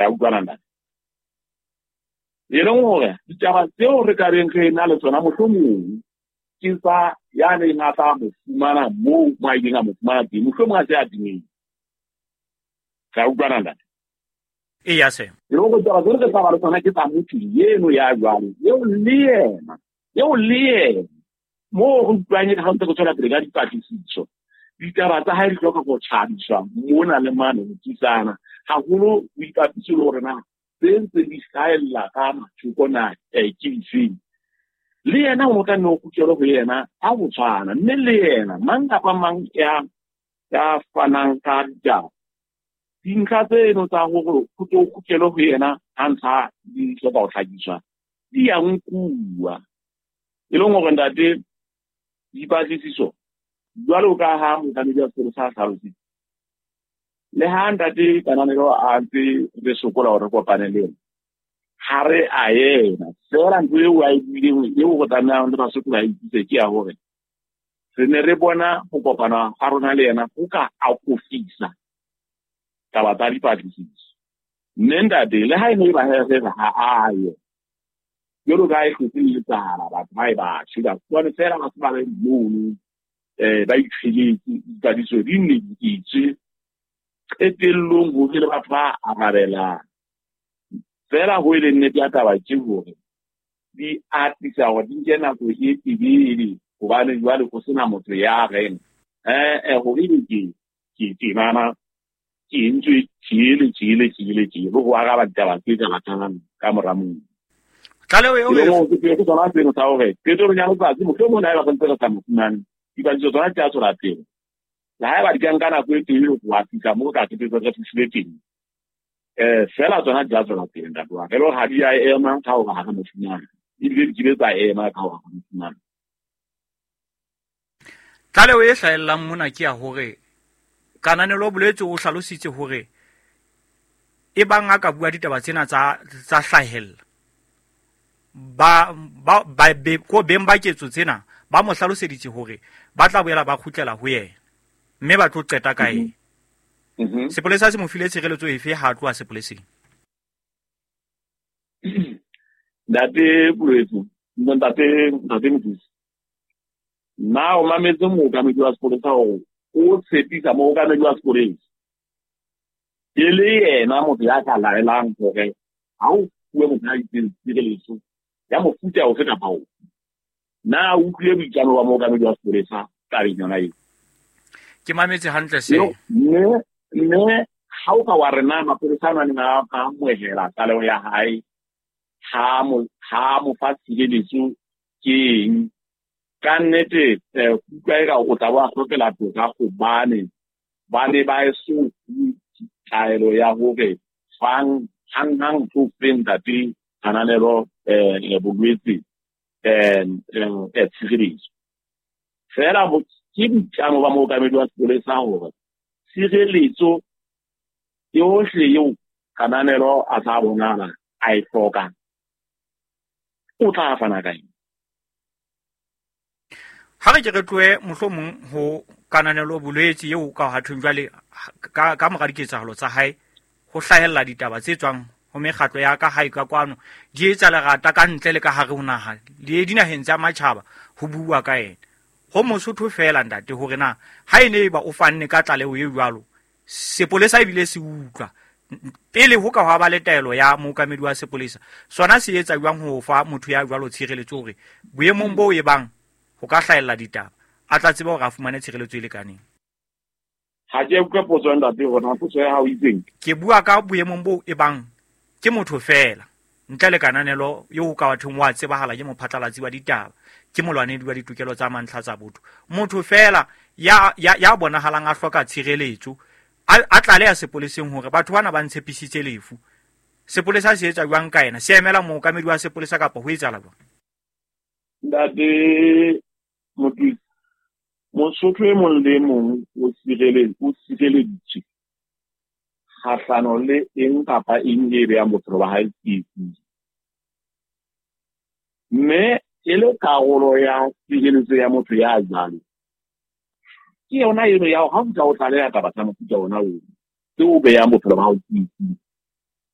Re utlwana, ntate? E leng hore ditaba tseo re ka beng re na le tsona mohlomong ke tsa ya neng a tla mo fumana moo mo a ileng a mo fumana teng, mohlomong a se a timetse. Re utlwana, ntate? Eya, se. E leng hore ditaba tseo re tla ba le tsona ke tsa motho eno ya jwalo, eo le yena, eo le yena moo re utlwang e ka ha ntse re tswela pele ka dipatlisiso, ditaba tsa hae di hloka ho tjhabiswa mona le mane ho thusana haholo, ho ipapiswe le hore na tse ntse di hlahella ka mathoko na ke difeng. Le yena o tla nne o kgutlele ho yena ka ho tshwana, mme le yena mang kapa mang ya fanang ka ditaba, dintlha tseno tsa hore ho tlo kgutlele ho yena ha ntlha di hloka ho hlakiswa di ya nkuwa. E leng hore, ntate, dipatlisiso jwalo ka ha mookamedi wa sepolesa a hlalositse, le ha ntate Kananelo a ntse re sokola hore re kopane le yena, ha re a yena feela ntho eo a e buileng eo re tlamehang le Basotho ba itsise ke ya hore re ne re bona ho kopana ga rona le yena ho ka akofisa taba tsa dipatlisiso. Mme ntate, le ha e ne e ba he re re ha a ye, jwalo ka ha e hlotse e etsahala, batho ba e ba shwe, ba fumane feela ba se ba le mono, ba itshweletse, dipatlisiso di nne di etswe, qetellong ho be le batho ba arabelang. Feela ho e leng nnete ya taba ke hore di atisa hore di nke nako e telele, hobane jwale ho sena motho ya reng hore ebe ke tjenana, ke entswe tjele tjele tjele tjele, ho araba ditaba tse ka latelang ka mora moo. Tlaleho eo E leng hore ke tsona seno sa hore qetellong ya letsatsi mohlomong haeba re ntse re sa mo fumane, dipatlisiso tsona di tla tswela pele. Le haeba di ka nka nako e telele ho wa fihla moo ka qetelletse re fihlile teng, feela tsona di tla tswela pele, ntate wa ka. E le hore ha di a ema ka hore ha re mo fumane, ebile di kile tsa ema ka hore ha re mo fumane. Tlaleho e hlahellang mona ke ya hore Kananelo o boletse, o hlalositse hore e bang a ka bua ditaba tsena tsa hlahella, ko beng ba ketso tsena ba mo hlaloseditse hore ba tla boela ba kgutlela ho yena mme ba tlo qeta ka ena. Sepolesa se mo file tshireletso efe ha a tloha sepoleseng? Ntate Bolwetse, ntate Mothusi, nna o mametse mookamedi wa sepolesa hore o tshepisa mookamedi wa sepolesa e le yena motho ya ka laelang hore ha o fuwe motho a itseng tshireletso ya mofuta ofe kapa ofe. Na o utlwile boitlamo ba mookamedi wa sepolesa tabeng yona eo? Ke mametse hantle se. Mme ha o ka wa re na mapolesa a neng a amohela tlaleho ya hae, ha mo fa tshireletso ke eng? Ka nnete, utlwa eka o tla bo a hlokela toka hobane ba ne ba eso fuwe taelo ya hore fang hang-hang tlo feng ntate Kananelo bolwetse tshireletso. Feela ke boitlamo ba mookamedi wa sepolesa hore tshireletso yohle eo Kananelo a tla bonahala a e hloka, o tla fana ka eng. Ha re ke re tlohe mohlomong ho Kananelo bolwetse eo ka ha thweng jwale ka mora diketsahalo tsa hae ho hlahella ditaba tse tswang ho mekgatlo ya ka hae ka kwano, di etsa lerata ka ntle le ka hare ho naha le dinaheng tsa matjhaba ho bua ka yena. Ho Mosotho feela, ntate, hore na ha e ne eba o fanne ka tlaleho e jwalo, sepolesa ebile se utlwa pele ho ka hwa ba le taelo ya mookamedi wa sepolesa, sona se etsa jwang ho fa motho ya jwalo tshireletso hore boemong boo e bang ho ka hlahella ditaba a tla tseba hore a fumane tshireletso e lekaneng? Ha ke utlwe potso ya ntate hore na potso ya hao e itseng. Ke bua ka boemong boo e bang ke motho feela ntle le Kananelo eo ka bathong wa tsebahala ke mophatlalatsi wa ditaba, ke molwanedi wa ditokelo tsa mantlha tsa botho, motho feela ya bonahalang a hloka tshireletso, a tlaleha sepoleseng hore batho bana ba ntshepisitse lefu. Sepolesa se etsa jwang ka yena? Se emela mookamedi wa sepolesa kapa ho etsahala jwang? Ntate Mothusi, Mosotho e mong le mong o sireleditswe kgahlano le eng kapa eng e behang bophelo ba hae tsietsing. Mme e le karolo ya tshireletso ya motho ya jwalo, ke yona eno ya hore ha o tla o tlaleha taba tsa mofuta ona oo, tse o behang bophelo ba hao tsietsing.